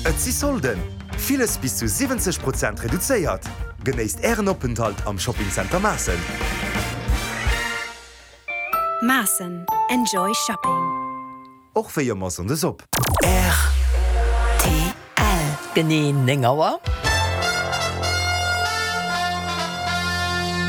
Et si Solden! Villes bis zu 70 Prozent reduzéiert! Genéisst Ären Openthalt am Shopping Center Maassen! Maassen, Enjoy Shopping! Och wéi ëmmer Sonndes op. Rtl. Genee 9 Auer.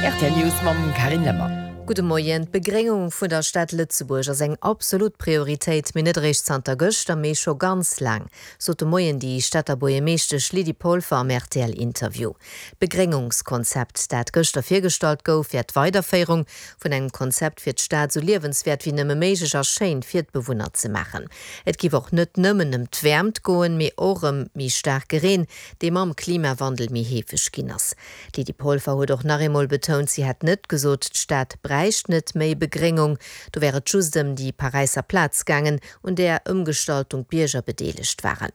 Rtl News mam Carine Lemmer. Gudde Moien. D'Begréngung vun der Stad Lëtzebuerg ass eng absolut Prioritéit, mee net eréischt zanter gëschter, mee scho ganz laang, sot de Moien déi Stater Buergermeeschtesch Lydie Polfer am RTL-Interview. D'Begréngungskonzept, dat gëschter virgestallt gouf, wär d'Weiderféierung vun engem Konzept fir d'Stad esou liewenswäert wéi nëmme méiglech a schéin fir d'Bewunner ze maachen. Et giff och net nëmmen ëm d'Wäermt goen, mee och ëm méi staarke Reen, dee mam Klimawandel méi heefeg ginn ass. D'Lydie Polfer huet och nach eemol betount, si hätt net gesot, d'Stad bräicht net méi Begréngung. Do wär et just ëm déi Paräisser Plaz gaangen, un där Ëmgestaltung d'Bierger bedeelegt waren.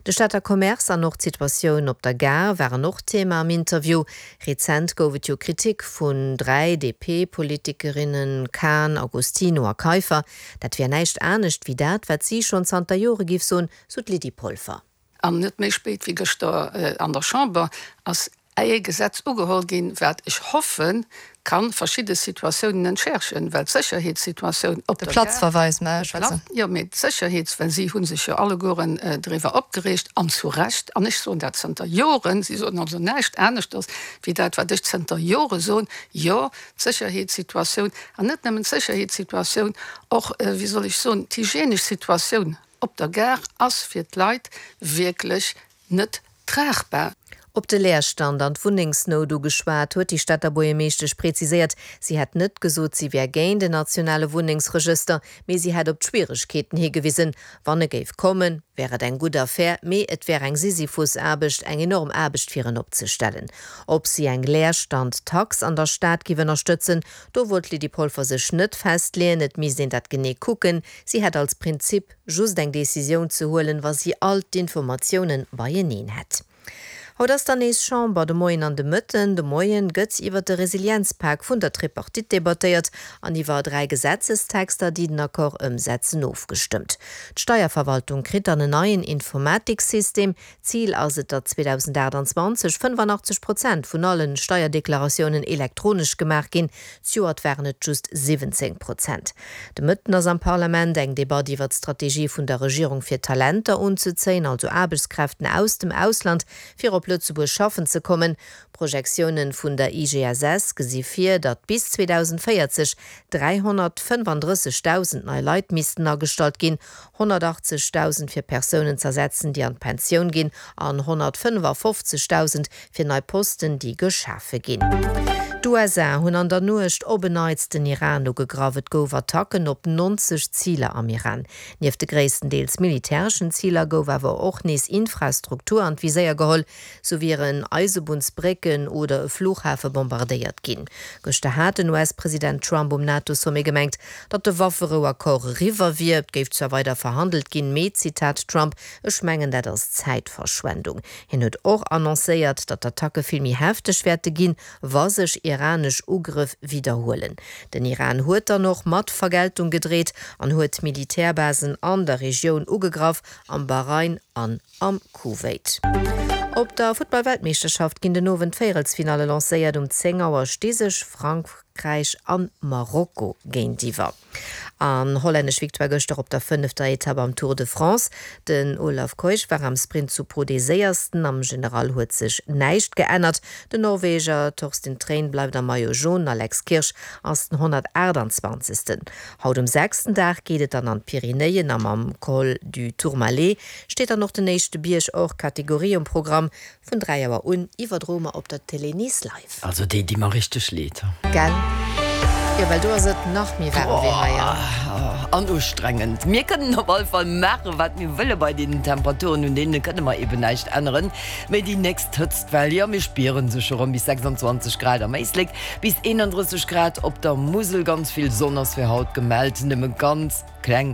De Stater Commerce an och d'Situatioun op der Gare waren och Thema am Interview. Rezent gouf et jo Kritik vun 3 DP-Politikerinnen, Kahn, Agostino a Kaiffer. Dat wär näischt anescht wéi dat, wat si schonn zanter Jore giff soen, sou d'Lydie Polfer. An net méi spéit wéi gëschter an der Chamber ass ee Gesetz ugeholl ginn, wat, ech hoffen, ka verschidde Situatiounen entschärfen, well d'Sécherheetssituatioun op De der Gare, Platzverweis, mä ech schwätzen. jo, mee d'Sécherheets, well si hu sech jo allegueren driwwer opgereegt, an zu Recht, an ech soen dat zënter Joren, si soen also näischt aneschters wéi dat, wat ech zënter Jore soen, jo, d'Sécherheetssituatioun, an net nëmmen d'Sécherheetssituatioun, och, wéi soll ech soen, d'hygienesch Situatioun op der Gare ass fir d'Leit wierklech net tragbar. Op de Leerstand an d'Wunnengsnout ugeschwat, huet déi Stater Buergermeeschtesch preziséiert, si hätt net gesot, si wär géint en nationale Wunnengsregëster, mee si hätt op d'Schwieregkeeten higewisen. Wann e géif kommen, wär et eng gutt Affär, mee et wär eng Sisyphus-Aarbecht, eng enorm Aarbecht fir en opzestellen. Ob si eng Leerstand-Tax an der Stad géif ënnerstëtzen, do wollt d'Lydie Polfer sech net festleeën, et misst een dat genee kucken. Si hätt als Prinzip just eng Decisioun ze huelen, wa si all d'Informatiounen beieneen hätt. Haut ass dann nees Chamber, de Moien an de Mëtten. De Moien gëtt iwwer de Resilienzpak vun der Tripartite debattéiert an iwwer 3 Gesetzestexter, déi den Accord ëmsetzen, ofgestëmmt. D'Steierverwaltung kritt dann en neien Informatiksystem. Zil ass et, datt 2028 85 Prozent vun allen Steierdeklaratiounen elektronesch gemaach ginn. Zejoert waren et just 17 Prozent. De Mëtten ass am Parlament eng Debatt iwwer d'Strategie vun der Regierung fir Talenter unzezéien, also Aarbechtskräften aus dem Ausland, fir op Lëtzebuerg schaffen ze kommen. Projektiounen vun der IGSS gesi vir, datt bis 2040 335.000 nei Leit missten agestallt ginn, 180.000 fir Persounen z'ersetzen, déi an d'Pensioun ginn, an 155.000 fir nei Posten, déi geschafe ginn. D'USA hunn an der Nuecht op en Neits den Iran ugegraff. Et gouf Attacken op 90 Ziler am Iran. Nieft de gréisstendeels militäreschen Ziler gouf awer och nees Infrastruktur an d'Viséier geholl. Sou wieren Eisebunnsbrécken oder e Flughafe bombardéiert ginn. Gëschter hat den US-President Trump um NATO-Sommet gemengt, datt de Wafferou-Accord eriwwer wier. Et géif zwar weider verhandelt ginn, mee, Zitat Trump, Ech mengen, dat ass Zäitverschwendung. Hien huet och annoncéiert, datt d'Attacke vill méi hefteg wäerte ginn, wa sech iranesch Ugrëff widderhuelen. Den Iran huet dann och mat Vergeltung gedreet an huet Militärbasen an der Regioun ugegraff, am Bahrain an am Kuwait. Op der Futtball-Weltmeeschterschaft ginn den Owend d'Véierelsfinalle lancéiert. Um 10 Auer sti sech Frankräich an Marokko géintiwwer. An hollännesch Victoire gëschter op der fënnefter Etapp am Tour de France. Den Olav Kooij war am Sprint zu Pau dee séiersten. Am General huet sech näischt geännert. Den Norweger Torsten Træen bleift am Maillot Jaune, den Alex Kirsch ass den 128. Haut um sechsten Dag geet et dann an d'Pyrenäen a mam Col du Tourmalet steet dann och den éischte Bierg hors Catégorie um Programm. Vun 3 Auer un iwwerdroe mer op der Télé Nice live. Also déi di mer richteg leed. Gell? Jo, well do ass et nach méi waarem wéi hei. An ustrengend. Mir kënnen op alle Fall maachen, wat mir wëlle bei deenen Temperaturen, un deene kënne mer eben näischt änneren. Mee déi nächst Hëtztwell, jo, mir spiere se scho rëm, bis 26 Grad am Éislek, bis 31 Grad op der Musel. Ganz vill Sonn ass fir haut gemellt, nëmme ganz kleng.